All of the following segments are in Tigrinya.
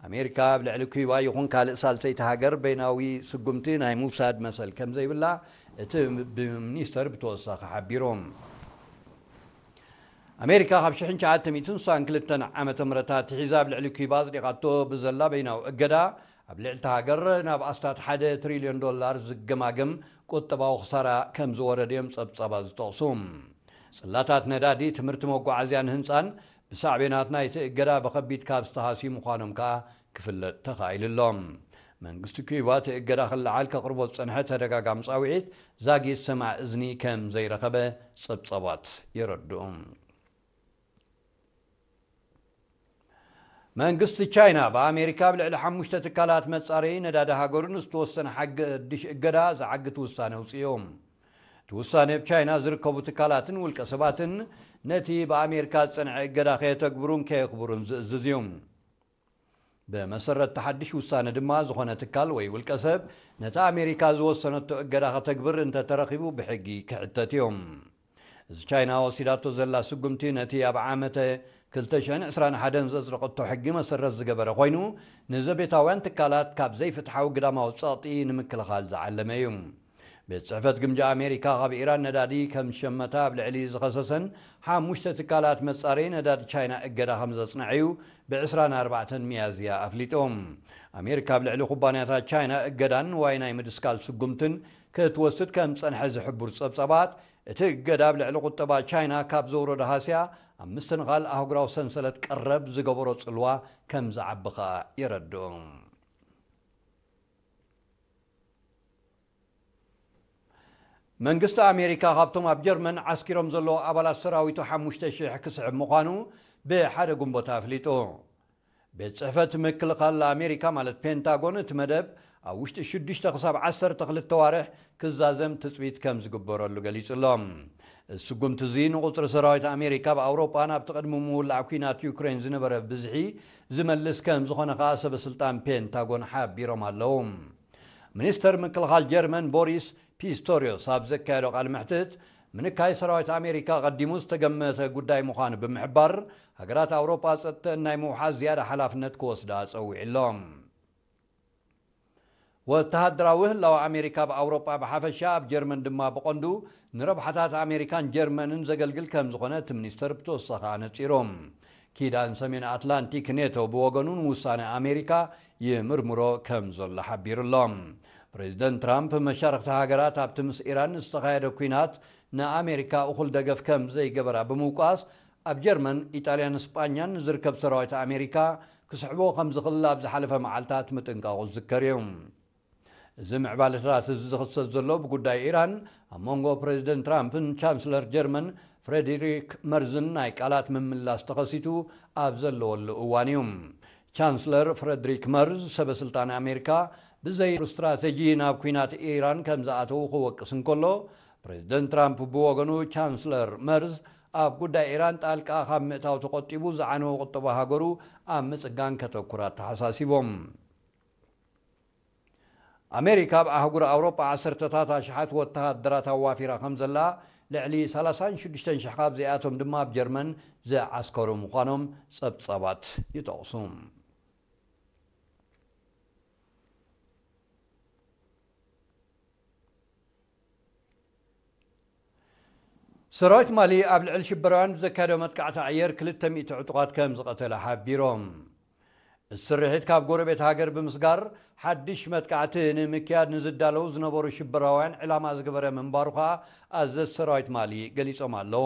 ኣሜሪካ ኣብ ልዕሊ ኩባ ይኹን ካልእ ሳልሰይቲ ሃገር በይናዊ ስጉምቲ ናይ ምውሳድ መሰል ከም ዘይብላ እቲ ብሚኒስተር ብተወሳኺ ሓቢሩ። ኣሜሪካ ካብ ሽሕን ትሽዓተ ሚእትን ስሳን ክልተን ዓመተ ምህረት ኣትሒዛ ኣብ ልዕሊ ኩባ ኣጽዲቓቶ ብዘላ በይናዊ እገዳ፣ ኣብ ልዕሊ እታ ሃገር ናብ ኣስታት ሓደ ትሪልዮን ዶላር ዝገማገም ቁጠባዊ ክሳራ ከም ዝወረደ እዮም ጸብጻባት ዝጠቕሱ። ጽላታት ነዳዲ፣ ትምህርቲ፣ መጓዓዝያን ህንጻን ብሳዕቤናት ናይቲ እገዳ ብኸቢድ ካብ ዝተሃስዩ ምዃኖም ከኣ ክፍለጥ ተኻኢሉ ኣሎ። መንግስቲ ኩባ እቲ እገዳ ክለዓል ከቕርቦ ዝጸንሐ ተደጋጋሚ ጻውዒት ዛጊት ሰማዕ እዝኒ ከም ዘይረኸበ ጸብጻባት የረድኡ። መንግስቲ ቻይና ብኣሜሪካ ኣብ ልዕሊ ሓሙሽተ ትካላት መጻረዪ ነዳዲ ሃገሩ ንዝተወሰነ ሓድሽ እገዳ ዝዓግት ውሳነ ኣውጺኡ። እቲ ውሳነ ኣብ ቻይና ዝርከቡ ትካላትን ውልቀ ሰባትን ነቲ ብኣሜሪካ ዝጸንዐ እገዳ ከየተግብሩን ከየኽብሩን ዝእዝዝ እዩ። ብመሰረት እቲ ሓድሽ ውሳነ ድማ፣ ዝኾነ ትካል ወይ ውልቀ ሰብ ነቲ ኣሜሪካ ዝወሰነቶ እገዳ ከተግብር እንተተረኺቡ ብሕጊ ክሕተት እዩ። እዚ ቻይና ወሲዳቶ ዘላ ስጉምቲ ነቲ ኣብ ዓመተ ክልተ ሽሕን ዕስራን ሓደን ዘጽደቐቶ ሕጊ መሰረት ዝገበረ ኮይኑ፣ ንዘቤታውያን ትካላት ካብ ዘይፍትሓዊ ግዳማዊ ጸቕጢ ንምክልኻል ዝዓለመ እዩ። ቤት ጽሕፈት ግምጃ ኣሜሪካ ካብ ኢራን ነዳዲ ከም ዝሸመታ ኣብ ልዕሊ ዝኸሰሰን ሓሙሽተ ትካላት መጻረዪ ነዳዲ ቻይና እገዳ ከም ዘጽንዐ እዩ ብ ዕስራን ኣርባዕተን ሚያዝያ ኣፍሊጡ። ኣሜሪካ ኣብ ልዕሊ ኩባንያታት ቻይና እገዳን ንዋይ ናይ ምድስካል ስጉምትን ክትወስድ ከም ዝጸንሐ ዝሕብሩ ጸብጻባት፣ እቲ እገዳ ኣብ ልዕሊ ቁጠባ ቻይና ካብ ዘውረዶ ሃስያ ኣብ ምስትንኻል ኣህጉራዊ ሰንሰለት ቀረብ ዝገበሮ ጽልዋ ከም ዝዓቢ ከኣ የረድኡ። መንግስቲ ኣሜሪካ ካብቶም ኣብ ጀርመን ዓስኪሮም ዘለዉ ኣባላት ሰራዊቱ ሓሙሽተ ሽሕ ክስሕብ ምዃኑ ብሓደ ግንቦት ኣፍሊጡ። ቤት ጽሕፈት ምክልኻል ኣሜሪካ፣ ማለት ፔንታጎን፣ እቲ መደብ ኣብ ውሽጢ ሽዱሽተ ክሳብ ዓሰርተ ክልተ ዋርሕ ክዛዘም ትጽቢት ከም ዝግበረሉ ገሊጹ ኣሎ። እዚ ስጉምቲ እዚ ንቁጽሪ ሰራዊት ኣሜሪካ ኣብ ኣውሮጳ ናብቲ ቅድሚ ምውላዕ ኲናት ዩክሬን ዝነበረ ብዝሒ ዝመልስ ከም ዝኾነ ከኣ ሰበ ስልጣን ፔንታጎን ሓቢሮም ኣለዉ። ሚኒስተር ምክልኻል ጀርመን ቦሪስ ፒስቶሪዮስ ኣብ ዘካየዶ ቃለ መሕትት፣ ምንካይ ሰራዊት ኣሜሪካ ቀዲሙ ዝተገመተ ጉዳይ ምዃኑ ብምሕባር፣ ሃገራት ኣውሮጳ ጸጥተን ናይ ምውሓስ ዝያዳ ሓላፍነት ክወስዳ ጸዊዑ ኣሎ። ወተሃደራዊ ህላወ ኣሜሪካ ኣብ ኣውሮጳ ብሓፈሻ፣ ኣብ ጀርመን ድማ ብቐንዱ፣ ንረብሓታት ኣሜሪካን ጀርመንን ዘገልግል ከም ዝኾነ እቲ ሚኒስተር ብተወሳኺ ኣነጺሩ። ኪዳን ሰሜን ኣትላንቲክ ኔቶ ብወገኑ ንውሳነ ኣሜሪካ ይምርምሮ ከም ዘሎ ሓቢሩ ኣሎ። ፕሬዚደንት ትራምፕ መሻርኽቲ ሃገራት ኣብቲ ምስ ኢራን ዝተኻየደ ኲናት ንኣሜሪካ እኹል ደገፍ ከም ዘይገበራ ብምውቃስ፣ ኣብ ጀርመን፣ ኢጣልያን ስጳኛን ዝርከብ ሰራዊት ኣሜሪካ ክስሕቦ ከም ዝኽእል ኣብ ዝሓለፈ መዓልታት ምጥንቃቑ ዝዝከር እዩ። እዚ ምዕባለታት እዚ ዝኽሰት ዘሎ ብጉዳይ ኢራን ኣብ መንጎ ፕሬዚደንት ትራምፕን ቻንስለር ጀርመን ፍሬድሪክ መርዝን ናይ ቃላት ምምላስ ተኸሲቱ ኣብ ዘለወሉ እዋን እዩ። ቻንስለር ፍሬድሪክ መርዝ፣ ሰበ ስልጣን ኣሜሪካ ብዘይ ስትራተጂ ናብ ኲናት ኢራን ከም ዝኣተዉ ክወቅስ እንከሎ፣ ፕሬዚደንት ትራምፕ ብወገኑ፣ ቻንስለር መርዝ ኣብ ጉዳይ ኢራን ጣልቃ ካብ ምእታው ተቆጢቡ ዝዓነወ ቁጠባ ሃገሩ ኣብ ምጽጋን ከተኩር ኣተሓሳሲቦም። ኣሜሪካ ኣብ ኣህጉር ኣውሮጳ ዓሰርተታት ኣሽሓት ወተሃደራት ኣዋፊራ ከም ዘላ፣ ልዕሊ ሰላሳን ሽዱሽተን ሽሕ ካብዚኣቶም ድማ ኣብ ጀርመን ዝዓስከሩ ምዃኖም ጸብጻባት ይጠቕሱ። ሰራዊት ማሊ ኣብ ልዕሊ ሽበራውያን ብዘካየዶ መጥቃዕቲ ኣየር ክልተ ሚእቲ ዕጡቓት ከም ዝቐተለ ሓቢሮም። እቲ ስርሒት ካብ ጎረቤት ሃገር ብምስጋር ሓድሽ መጥቃዕቲ ንምክያድ ንዝዳለዉ ዝነበሩ ሽበራውያን ዕላማ ዝገበረ ምንባሩ ከኣ ኣዘዝቲ ሰራዊት ማሊ ገሊጾም ኣለዉ።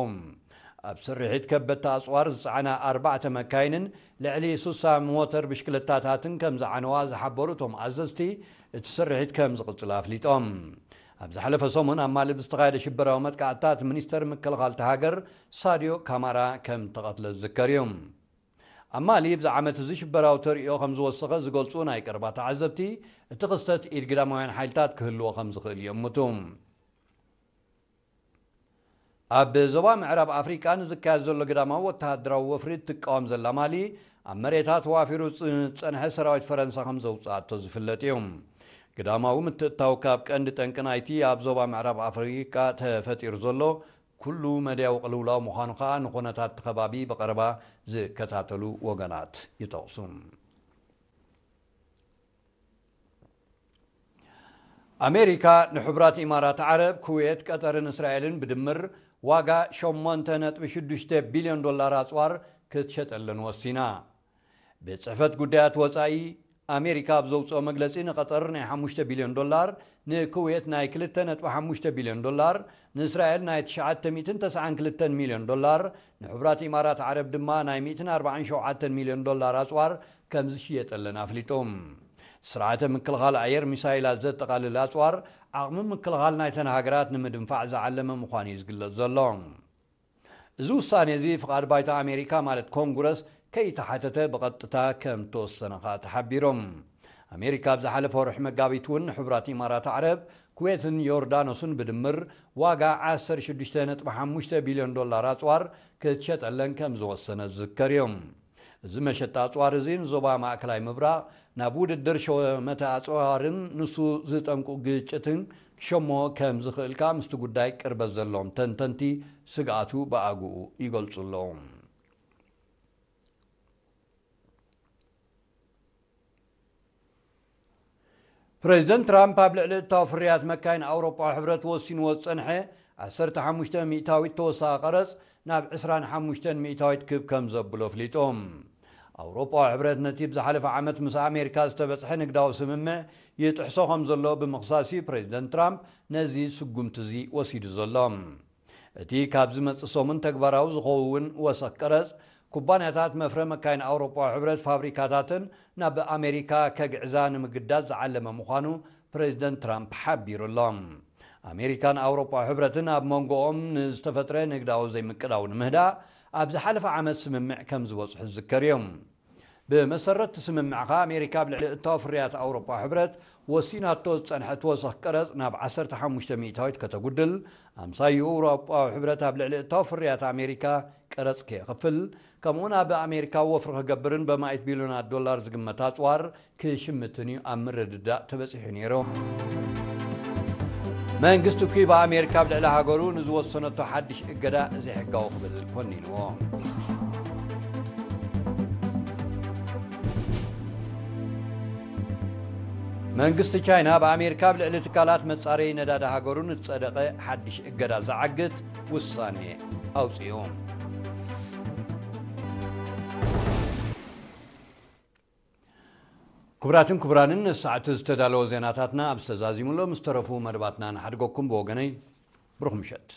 ኣብ ስርሒት ከበድቲ ኣጽዋር ዝጸዓና ኣርባዕተ መካይንን ልዕሊ ሱሳ ሞተር ብሽክለታታትን ከም ዝዓነዋ ዝሓበሩ እቶም ኣዘዝቲ፣ እቲ ስርሒት ከም ዝቕጽል ኣፍሊጦም። ኣብ ዝሓለፈ ሰሙን ኣብ ማሊ ብዝተኻየደ ሽበራዊ መጥቃዕትታት ሚኒስተር ምክልኻል እታ ሃገር ሳድዮ ካማራ ከም ተቐትለ ዝዝከር እዩ። ኣብ ማሊ ኣብዚ ዓመት እዚ ሽበራዊ ተርእዮ ከም ዝወሰኸ ዝገልጹ ናይ ቀረባ ተዓዘብቲ፣ እቲ ክስተት ኢድ ግዳማውያን ሓይልታት ክህልዎ ከም ዝኽእል ይእምቱ። ኣብ ዞባ ምዕራብ ኣፍሪቃ ንዝካየድ ዘሎ ግዳማዊ ወተሃደራዊ ወፍሪ እትቃወም ዘላ ማሊ፣ ኣብ መሬታ ተዋፊሩ ዝጸንሐ ሰራዊት ፈረንሳ ከም ዘውጽኣቶ ዝፍለጥ እዩ። ግዳማዊ ምትእትታው ካብ ቀንዲ ጠንቂ ናይቲ ኣብ ዞባ ምዕራብ ኣፍሪቃ ተፈጢሩ ዘሎ ኩሉ መድያዊ ቅልውላው ምዃኑ ከኣ ንኹነታት እቲ ከባቢ ብቐረባ ዝከታተሉ ወገናት ይጠቕሱ። ኣሜሪካ ንሕቡራት ኢማራት ዓረብ፣ ኩዌት፣ ቀጠርን እስራኤልን ብድምር ዋጋ ሸሞንተ ነጥቢ ሽዱሽተ ቢልዮን ዶላር ኣጽዋር ክትሸጠለን ወሲና። ቤት ጽሕፈት ጉዳያት ወጻኢ ኣሜሪካ ኣብ ዘውጽኦ መግለጺ፣ ንቐጠር ናይ ሓሙሽተ ቢልዮን ዶላር፣ ንኩዌት ናይ ክልተ ነጥቢ ሓሙሽተ ቢልዮን ዶላር፣ ንእስራኤል ናይ ትሽዓተ ሚእትን ተስዓን ክልተን ሚልዮን ዶላር፣ ንሕቡራት ኢማራት ዓረብ ድማ ናይ ሚእትን ኣርባዓን ሸውዓተን ሚልዮን ዶላር ኣጽዋር ከም ዝሽየጠለን ኣፍሊጡ። ስርዓተ ምክልኻል ኣየር ሚሳይላት ዘጠቓልል ኣጽዋር፣ ዓቕሚ ምክልኻል ናይተን ሃገራት ንምድንፋዕ ዝዓለመ ምዃኑ እዩ ዝግለጽ ዘሎ። እዚ ውሳኔ እዚ ፍቓድ ባይቶ ኣሜሪካ፣ ማለት ኮንግረስ፣ ከይተሓተተ ብቐጥታ ከም ተወሰነ ከኣ ተሓቢሮም። ኣሜሪካ ኣብ ዝሓለፈ ወርሒ መጋቢት እውን ንሕቡራት ኢማራት ዓረብ፣ ኩዌትን ዮርዳኖስን ብድምር ዋጋ ዓሰርተ ሽዱሽተ ነጥቢ ሓሙሽተ ቢልዮን ዶላር ኣጽዋር ክትሸጠለን ከም ዝወሰነ ዝዝከር እዩ። እዚ መሸጣ ኣጽዋር እዚ ንዞባ ማእከላይ ምብራቕ፣ ናብ ውድድር ሸመተ ኣጽዋርን ንሱ ዝጠንቁ ግጭትን ክሸሞ ከም ዝኽእል ከኣ ምስቲ ጉዳይ ቅርበት ዘለዎም ተንተንቲ ስግኣቱ ብኣግኡ ይገልጹ ኣለዉ። ፕሬዚደንት ትራምፕ ኣብ ልዕሊ እታው ፍርያት መካይን ኣውሮጳዊ ሕብረት ወሲንዎ ዝጸንሐ ዓሰርተ ሓሙሽተ ሚእታዊት ተወሳኺ ቀረጽ ናብ ዕስራን ሓሙሽተን ሚእታዊት ክብ ከም ዘብሎ ኣፍሊጡ። ኣውሮጳዊ ሕብረት ነቲ ብዝሓለፈ ዓመት ምስ ኣሜሪካ ዝተበጽሐ ንግዳዊ ስምምዕ ይጥሕሶ ከም ዘሎ ብምኽሳስ እዩ ፕሬዚደንት ትራምፕ ነዚ ስጉምቲ እዚ ወሲዱ ዘሎ። እቲ ካብ ዝመጽእ ሰሙን ተግባራዊ ዝኸውን ወሰኽ ቀረጽ፣ ኩባንያታት መፍረ መካይን ኣውሮጳዊ ሕብረት ፋብሪካታትን ናብ ኣሜሪካ ከግዕዛ ንምግዳድ ዝዓለመ ምዃኑ ፕሬዚደንት ትራምፕ ሓቢሩ ኣሎ። ኣሜሪካን ኣውሮጳዊ ሕብረትን ኣብ መንጎኦም ንዝተፈጥረ ንግዳዊ ዘይምቅዳው ንምህዳእ ኣብ ዝሓለፈ ዓመት ስምምዕ ከም ዝበጽሑ ዝዝከር እዩ። ብመሰረት እቲ ስምምዕ ከኣ ኣሜሪካ ኣብ ልዕሊ እታው ፍርያት ኣውሮጳዊ ሕብረት ወሲናቶ ዝጸንሐት ወሰኽ ቀረጽ ናብ ዓሰርተ ሓሙሽተ ሚእታዊት ከተጉድል፣ ኣምሳይኡ ኣውሮጳዊ ሕብረት ኣብ ልዕሊ እታው ፍርያት ኣሜሪካ ቀረጽ ከየኽፍል፣ ከምኡውን ኣብ ኣሜሪካ ወፍሪ ክገብርን በማኢት ቢልዮናት ዶላር ዝግመት ኣጽዋር ክሽምትን እዩ ኣብ ምርድዳእ ተበጺሑ ነይሩ። መንግስቲ ኩባ ኣሜሪካ ኣብ ልዕሊ ሃገሩ ንዝወሰነቶ ሓድሽ እገዳ ዘይሕጋዊ ክብል ኮኒንዎ። መንግስቲ ቻይና ብኣሜሪካ ኣብ ልዕሊ ትካላት መጻረዪ ነዳዲ ሃገሩ ንዝጸደቐ ሓድሽ እገዳ ዝዓግት ውሳኔ ኣውጺኡ። ክቡራትን ክቡራንን፣ ንሰዓቱ ዝተዳለወ ዜናታትና ኣብ ዝተዛዚሙሎም ዝተረፉ መደባትና ንሓድገኩም። ብወገነይ ብሩኽ ምሸት።